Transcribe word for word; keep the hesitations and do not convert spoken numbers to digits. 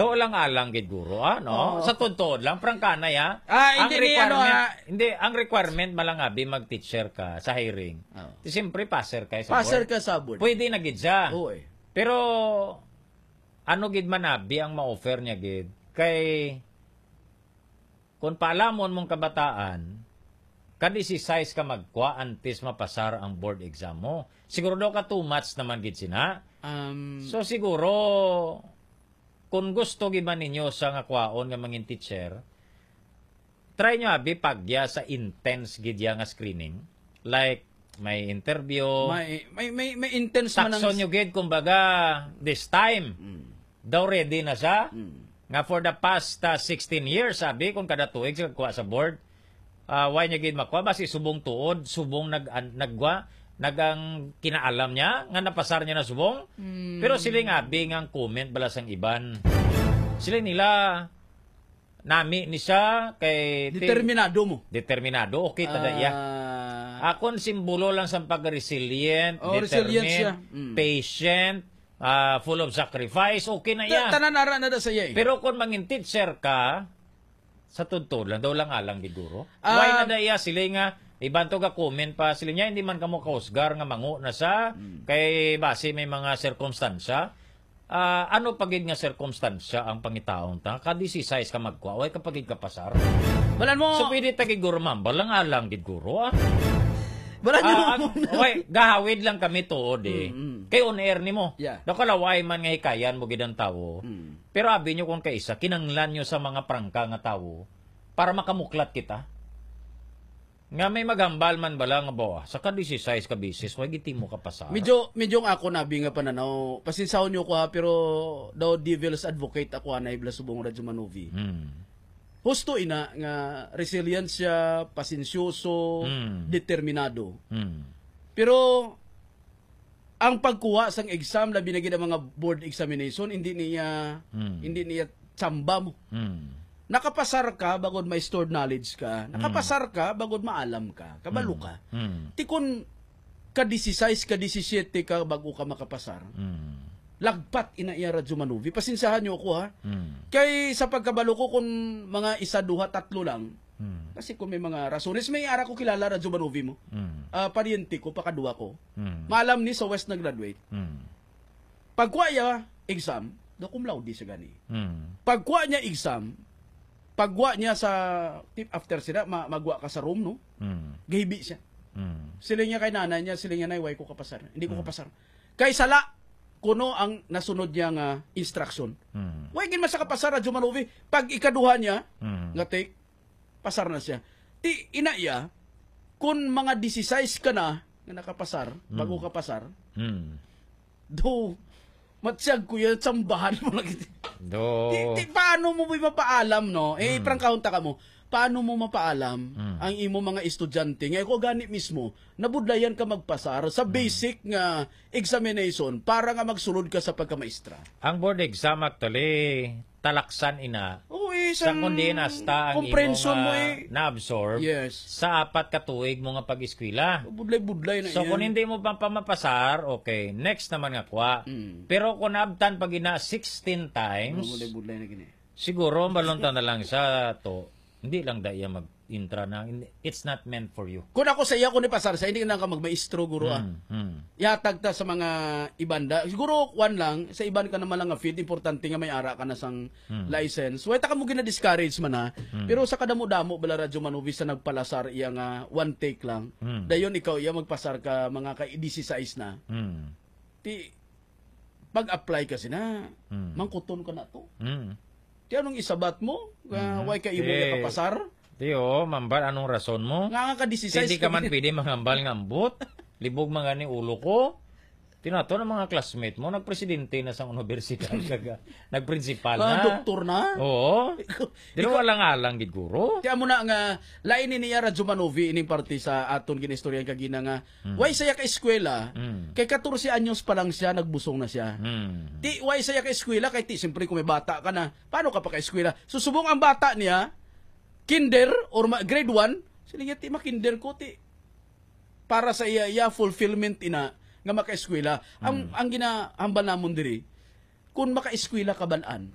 Tuod lang alang gid, guro, ah, no? Oo. Sa tuod-tuod lang, prangkanay, ah. Ah, Ang hindi ni, ano, requirement, ah. Hindi, ang requirement, malangabi, mag-teacher ka sa hiring. Oo. Di, siyempre, passer ka sa Passer board. ka sa board. Pwede na gid siya. Oo, eh. Pero, ano gid man, abi, ang ma-offer niya gid? Kay, kung paalamon mong kabataan, ka disisais ka magkwa antes mapasar ang board exam mo. Siguro daw ka too much naman gid sina. Um, So, siguro, kung gusto gid man ninyo sa nga kwaon nga mangin teacher, try nyo abi pagya sa intense gid ya nga screening. Like, may interview. May, may, may, may intense man ang Takson nyo gid, kumbaga, this time. Mm. Daw ready na siya. Mm. Nga for the past, ah, sixteen years, sabi, kung kada tuig siya kuha sa board, ah, why niya gid makuha? Basi subong tuod, subong nag-, an-, nagwa, nagang kinaalam niya, nga napasar niya na subong. Mm. Pero sila nga, abi, nga ang comment bala sang iban. Sila nila, nami ni siya kay ti-, Determinado mo. Determinado, okay, tada iya. Ah. Akon simbolo lang sa pag-resilient, Oh, resilient determined, siya. Mm. patient, ah, full of sacrifice, okay na Ta-, iya. tanan ara na da sa iya eh. Pero kung mangin teacher ka, sa totoo lang, daw lang alang gid guro. Ah. Why na da iya sila nga, iban to ga comment pa sila niya, hindi man kamo kahusgar nga mango na sa, Mm. kay basi may mga sirkumstansya. Ah, ano pa gid nga sirkumstansya ang pangitaon ta? Ka disisais ka magkwa, way ka pa gid kapasar. Balan mo. So, pwede ta gid guro mambal lang alang gid guro, ah. Balan Ah, mo ang, muna. way, gahawid lang kami tuod eh. Mm, mm. Kay on air nimo. Yeah. Daw kalaway man nga hikayan mo gid ang tawo. Mm. Pero abi nyo kung kaisa, kinanglan nyo sa mga prangka nga tawo para makamuklat kita. Nga may maghambal man bala nga, "Bawa, sa ka disisais ka bisis, way gid mo kapasar." Medyo, medyo ang ako nabi nga pananaw, pasinsahon niyo ko ha, pero daw devil's advocate ako, anay, bala subong Radyo Manovi. Hmm. Husto ina nga resilient siya, pasensyoso, Hmm. determinado. Hmm. Pero ang pagkuha sang exam, labi na gid ang mga board examination, hindi niya, Hmm. hindi niya tsamba mo. Hmm. Nakapasar ka, bagod may stored knowledge ka. Hmm. Nakapasar ka, bagod maalam ka. Kabalo Hmm. ka. Hmm. Ti kun ka disisais, ka disisiete ka, bago ka makapasar. Hmm. Lagpat ina iya Radyo Manuvi. Pasinsahan niyo ako, ha. Hmm. Kay sa pagkabalo ko, kung mga isa, duha, tatlo lang, Hmm. kasi kung may mga rasones, may ara ko kilala, Radyo Manuvi mo. Hmm. Ah, paryente ko, pakadwa ko. Hmm. Maalam ni sa West nag-graduate. Hmm. Pagkuha niya exam, do cum laude siya gani. Hmm. Pagkuha niya exam, pagkuha niya sa, tip after sila, ma-, magwa ka sa room, no? Hmm. Gahibi siya. Hmm. Sila niya kay nanay niya, sila niya, "Nay, way ko kapasar. Hindi ko Hmm. kapasar." Kay sala, kuno ang nasunod niya nga instruction. Hmm. Way gid man sa kapasar, Radyo Manuvi. Pag ikaduha niya, Hmm. nga take, pasar na siya. Ti, ina iya, kung mga disisais ka na, nga nakapasar, Hmm. bago ka pasar, Hmm. do, matsiyag ko yan, tsambahan mo lagi. Do. Ti, ti, paano mo ba mapaalam, no? Eh, Hmm. prangkahon ta ka mo, paano mo mapaalam Hmm. ang imo mga estudyante? Nga ako gani mismo, nabudlayan ka magpasar sa Hmm. basic nga examination para nga magsulod ka sa pagkamaestra. Ang board exam, actually, talaksan ina. Oo, eh, Sa sang kundi nasta ang imo comprehension nga mo, eh. na-absorb Yes. sa apat ka tuig mo nga pag-eskwela. Budlay-budlay na So, yan. kung hindi mo pa, pa mapasar, okay, next naman nga kwa. Mm. Pero kung naabtan pag ina sixteen times, Budlay-budlay na gini. siguro, balon ta na lang sa to, hindi lang da iya mag-intra na, it's not meant for you. Kung ako sa iya, kung ipasar sa, hindi na ka magmaestro, guro, ah. Hmm, hmm. Ihatag ta sa mga iban da. Siguro, kwan lang, sa iban ka naman lang nga field, importante nga may ara ka na sang Hmm. license. Wala ta ka mo gina-discourage man, ha. Hmm. Pero sa kadamo-damo, bala Radyo Manovi sa nagpalasar iya nga one take lang. Hmm. Dayon ikaw iya magpasar ka mga ka disisais na. Hmm. Ti, pag-apply ka sina, Hmm. mangkuton ka na to. Hmm. Ti anong isabat mo? Nga Mhm. way ka imo Ti, iya kapasar? ti, oh, mambal, anong rason mo? Nga nga ka disisais Hindi ka man pwede mangambal nga ambot. Libog man gani ulo ko. Tinato ng mga classmate mo, nagpresidente na sa universidad, kaga, nagprinsipal Mga na. doktor na. Oo. Ikaw, Di ikaw, wala nga lang gid, guro. Kaya mo na nga, lain ni niya Radyo Manovi ining parte sa aton ginistoryan kagina nga, Hmm. way saya ka eskwela, Hmm. kay katorse anyos pa lang siya, nagbusong na siya. Hmm. Ti, way saya ka eskwela, kay ti, siyempre kung may bata ka na, paano ka pa ka eskwela? So, subong ang bata niya, kinder or ma-, grade one, sila niya, ti, makinder ko, ti. Para sa iya, iya fulfillment ina, nga makaeskwela. Ang, Hmm. ang ginahambal namon diri, kung makaeskwela ka balaan,